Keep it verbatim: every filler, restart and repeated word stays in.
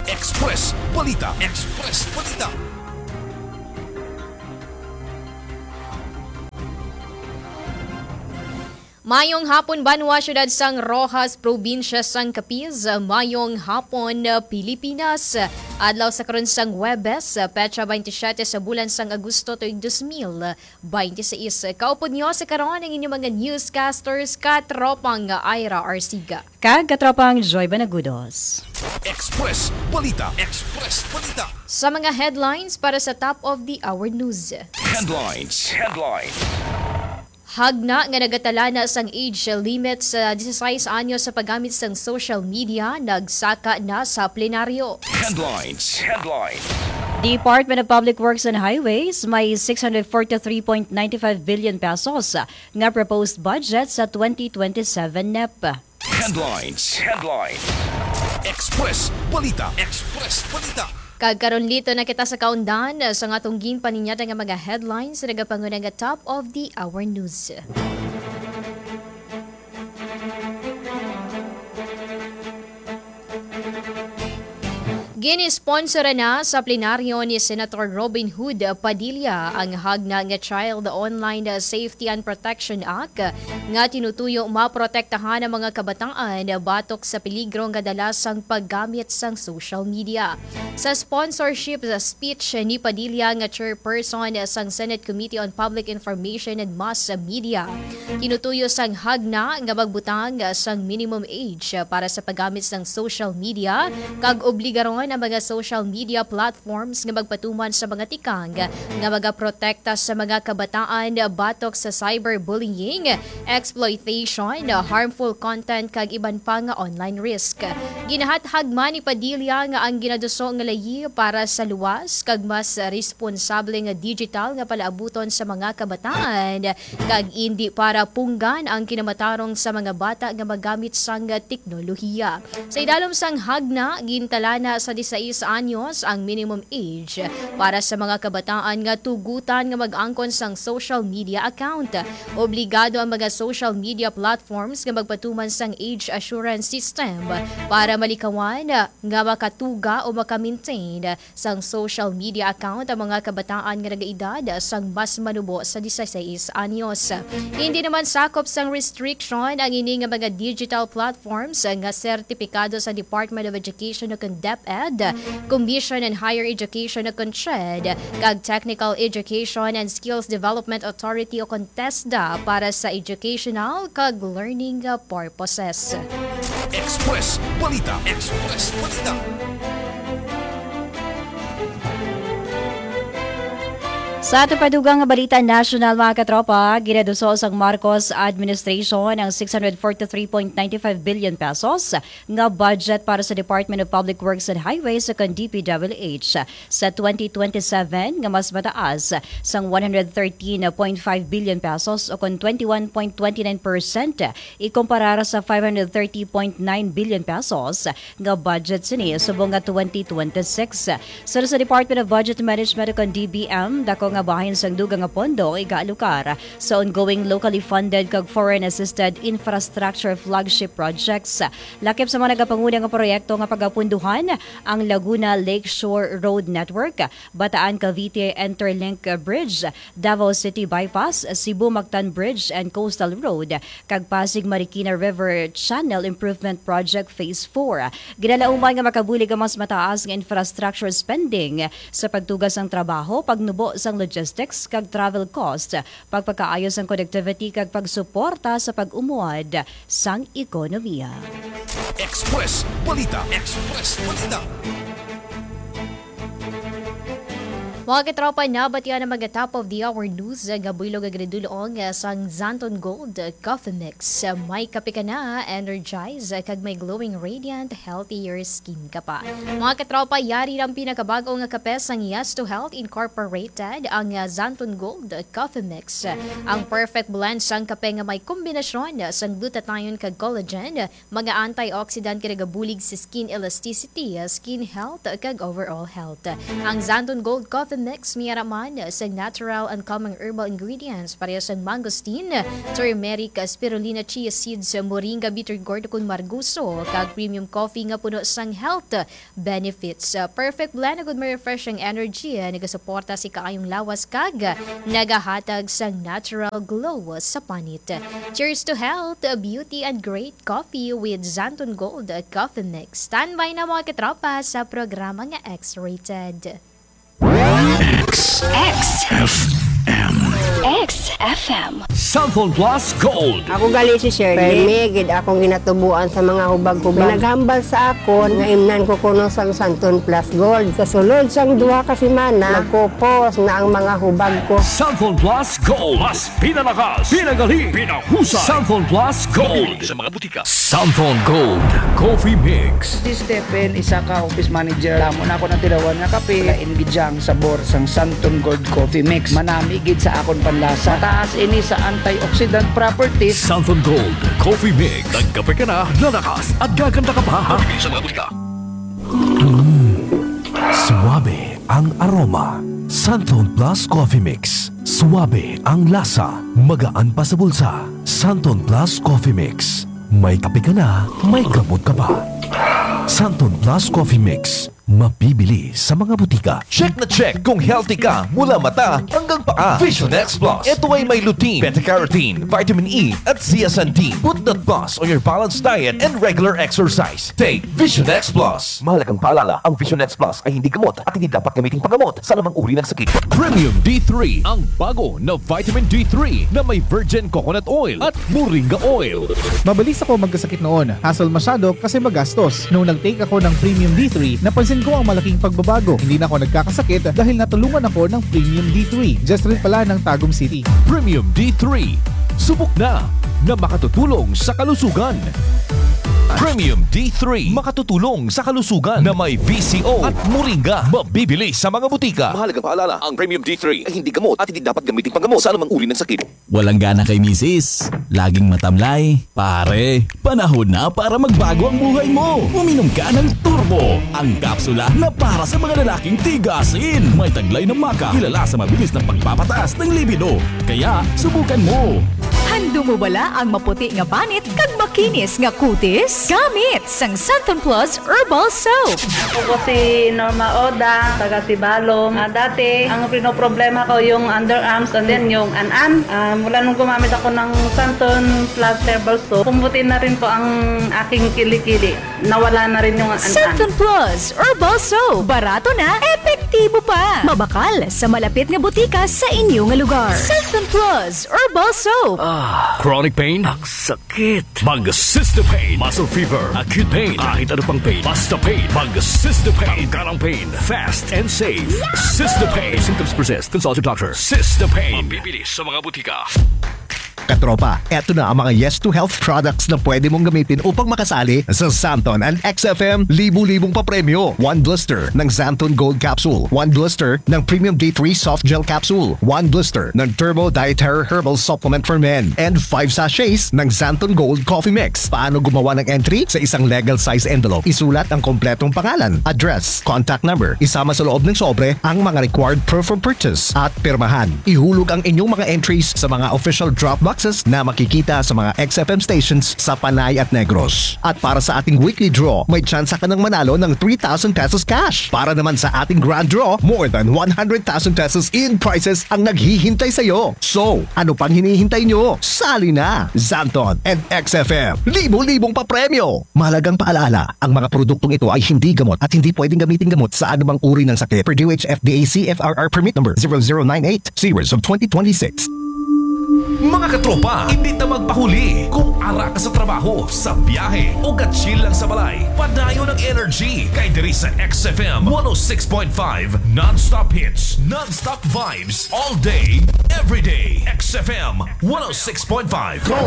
Express Balita. Express Balita. Mayong hapon, banwa, siyudad sang Roxas, probinsya sang Capiz. Mayong hapon, Pilipinas. Adlaw sa karon sang Huwebes, petsa twenty-seven sa bulan sang Agosto, tuig dos mil twenty-six. Kaupod niyo sa karon ang inyong mga newscasters, katropang Ira Arsiga. Kag katropang Joy Banagudos. Express Balita. Express Balita. Sa mga headlines para sa top of the hour news. Headlines. Headlines. Hagna nga nagatalana sang age limit sa disisais anyos sa paggamit sang social media nagsaka na sa plenaryo. Headlines. Headlines. Department of Public Works and Highways may six hundred forty-three point nine five billion pesos nga proposed budget sa twenty twenty-seven nep. Headlines. Headlines. Express Balita. Express Balita. Kag karon, lito na kita sa kaundan sa nga atong ginpaninyada nga mga headlines sa nagapanguna nga top of the hour news. Ginisponsora na sa plenaryo ni Senator Robin Hood Padilla ang hagna nga Child Online Safety and Protection Act nga tinutuyo maprotektahan ang mga kabataan batok sa peligro nga dala sang paggamit sang social media. Sa sponsorship speech ni Padilla nga chairperson sang Senate Committee on Public Information and Mass Media, tinutuyo sang hagna nga magbutang sang minimum age para sa paggamit sang social media kag obligaron ang mga social media platforms nga magpatuman sa mga tikang nga magaprotekta sa mga kabataan batok sa cyberbullying, exploitation, harmful content kag iban pa nga online risk. Ginahathag man ni Padilla nga ang ginaduso nga layi para sa luwas kag mas responsable nga digital nga palaabuton sa mga kabataan kag indi para punggan ang kinamatarong sa mga bata nga magamit sang teknolohiya. Sa idalom sang hagna, gintalana sa disisais anyos ang minimum age para sa mga kabataan nga tugutan nga mag-angkon sang social media account. Obligado ang mga social media platforms nga magpatuman sang age assurance system para malikawan nga makatuga o maka-maintain sang social media account ang mga kabataan nga nagaedad sang mas manubo sa disisais anyos. Hindi naman sakop sang restriction ang ini nga mga digital platforms nga sertipikado sa Department of Education o kon DepEd, Commission on Higher Education o kon CHED, kag Technical Education and Skills Development Authority o kon TESDA para sa educational kag learning purposes. Express Balita. Express Balita. Sa aton pa dugang nga balita nasyonal, mga katropa, ginaduso sang Marcos administration ang six hundred forty-three point nine five billion pesos nga budget para sa Department of Public Works and Highways o kon D P W H sa twenty twenty-seven, nga mas mataas sang one hundred thirteen point five billion pesos o kon twenty-one point twenty-nine percent ikumparar sa five hundred thirty point nine billion pesos nga budget sini subong nga twenty twenty-six. Suno sa Department of Budget Management o kon D B M, dako nga bahin sang dugang nga pondo igaalokar sa ongoing locally funded kag foreign assisted infrastructure flagship projects. Lakip sa mga nagapanguna nga proyekto nga pagapunduhan ang Laguna Lakeshore Road Network, Bataan Cavite Interlink Bridge, Davao City Bypass, Cebu Mactan Bridge and Coastal Road, kag Pasig Marikina River Channel Improvement Project Phase four. Ginalauman nga makabulig ang mas mataas nga infrastructure spending sa pagtuga sang trabaho, pagnubo sang logistics kag travel cost, pagpakaayo sang connectivity kag pagsuporta sa pag-umwad sang ekonomiya. Express Balita. Express Balita. Mga katropa, nabatian ang mga top of the hour news nga buylog nga ginadul-ong sang Xanthone Gold Coffee Mix. May kape ka na, energize, kag may glowing, radiant, healthier skin ka pa. Mga katropa, yari ang pinakabag-o nga kape sang Yes to Health Incorporated, ang, ah, Xanthone Gold Coffee Mix. Ang perfect blend sang kape nga may kombinasyon sang glutathione kag collagen, mga antioxidant nga nagabulig sa skin elasticity, skin health, kag overall health. Ang Xanthone Gold Coffee Mix, may ara man sang natural and calming herbal ingredients, pareho sang mangosteen, turmeric, spirulina, chia seeds, moringa, bitter gourd, ukon margoso, kag premium coffee nga puno sang health benefits. Uh, perfect blend, agud may refreshing energy, uh, nagasuporta sa kaayong lawas, kag nagahatag sang natural glow sa panit. Cheers to health, uh, beauty, and great coffee with Xanthone Gold, uh, Coffee Mix. Standby na, mga katropa, sa programa nga X-Rated. X F M. X F M. Xanthone Plus Gold. Ako gali si Shirley. Permi gid akong ginatubuan sa mga hubag-hubag. Naghambal sa akon nga imnan ko kuno sang Xanthone Plus Gold. Sa sulod sang duha ka semana, magkupos na ang mga hubag ko. Xanthone Plus Gold. Mas pinalakas, pinagali, pinahusay. Xanthone Plus Gold. Sa mga butika. Xanthone Gold Coffee Mix. Si Stephen, isa ka office manager. Damo na ako natilawan nga kape. Lain gid siya ang sabor sang Xanthone Gold Coffee Mix. Manami gid sa akon panlasa. Mataas ini sa antioxidant properties. Xanthone Gold Coffee Mix. Nagkape ka na, lalakas at gaganda ka pa. Mabibili sa mga butika. Mm, suabe ang aroma. Xanthone Plus Coffee Mix. Suabe ang lasa. Magaan pa sa bulsa. Xanthone Plus Coffee Mix. May kape ka na, may gamot ka pa. Xanthone Plus Coffee Mix. Mabibili sa mga butika. Check na check kung healthy ka mula mata hanggang paa. Vision X Plus. Ito ay may lutein, beta-carotene, vitamin E, at zeaxanthin. Put that plus on your balanced diet and regular exercise. Take Vision X Plus. Mahalagang paalala, ang Vision X Plus ay hindi gamot at hindi dapat gamiting panggamot sa anumang uri ng sakit. Premium D three, ang bago na vitamin D three na may virgin coconut oil at moringa oil. Mabilis ako magkasakit noon. Hassle masyado kasi magastos. Nung nag-take ako ng Premium D three, napansin ko ang malaking pagbabago. Hindi na ako nagkakasakit dahil natulungan ako ng Premium D three. Just rin pala ng Tagum City. Premium D three. Subok na na makatutulong sa kalusugan. Premium D three, makatutulong sa kalusugan na may V C O at moringa. Mabibili sa mga butika. Mahalagang paalala, ang Premium D three ay hindi gamot at hindi dapat gamitin panggamot sa anumang uri ng sakit. Walang gana kay misis? Laging matamlay? Pare, panahon na para magbago ang buhay mo. Uminom ka ng Turbo, ang kapsula na para sa mga lalaking tigasin. May taglay na maca, kilala sa mabilis na pagpapataas ng libido. Kaya, subukan mo. Handom mo bala ang maputi nga panit kag makinis nga kutis? Gamit sang Santon Plus Herbal Soap. Ako po si Norma Oda, taga Sibalom. Ah, dati, ang pinoproblema ko yung underarms and then yung an-an. Ah, mula nung gumamit ako ng Santon Plus Herbal Soap, pumuti na rin po ang aking kilikili. Nawala na rin yung an-an. Santon Plus Herbal Soap. Barato na, epektibo pa. Mabakal sa malapit nga butika sa inyo nga lugar. Santon Plus Herbal Soap. Ah, chronic pain? Nagsakit. Mag-Cystepain. Muscle fever, acute pain, kahit ano pang pain. Basta pain. Mag-Cystepain. Tanggal ang pain. Fast and safe. Cystepain. If symptoms persist, consult your doctor. Cystepain. Mabibili sa mga butika. Katropa, eto na ang mga Yes to Health products na pwede mong gamitin upang makasali sa Santon and X F M libu-libong papremyo. One blister ng Santon Gold Capsule, one blister ng Premium D three Soft Gel Capsule, one blister ng Turbo Dietary Herbal Supplement for Men, and five sachets ng Santon Gold Coffee Mix. Paano gumawa ng entry? Sa isang legal size envelope, isulat ang kompletong pangalan, address, contact number, isama sa loob ng sobre ang mga required proof of purchase at pirmahan. Ihulog ang inyong mga entries sa mga official drop boxes na makikita sa mga X F M stations sa Panay at Negros. At para sa ating weekly draw, may tsansa ka nang manalo ng three thousand pesos cash. Para naman sa ating grand draw, more than one hundred thousand pesos in prizes ang naghihintay sa iyo. So, ano pang hinihintay nyo? Sali na! Santon and X F M, libo-libong papremyo! Mahalagang paalala, ang mga produktong ito ay hindi gamot at hindi pwedeng gamitin gamot sa anumang uri ng sakit. Per D O H F D A C F R R Permit Number zero zero nine eight, Series of twenty twenty-six. Mga katropa, hindi ta magpahuli. Kung ara ka sa trabaho, sa biyahe, o ka-chill lang sa balay, padayon ang energy kay diri sa X F M one oh six point five non-stop hits, non-stop vibes, all day, every day. X F M one oh six point five. Go!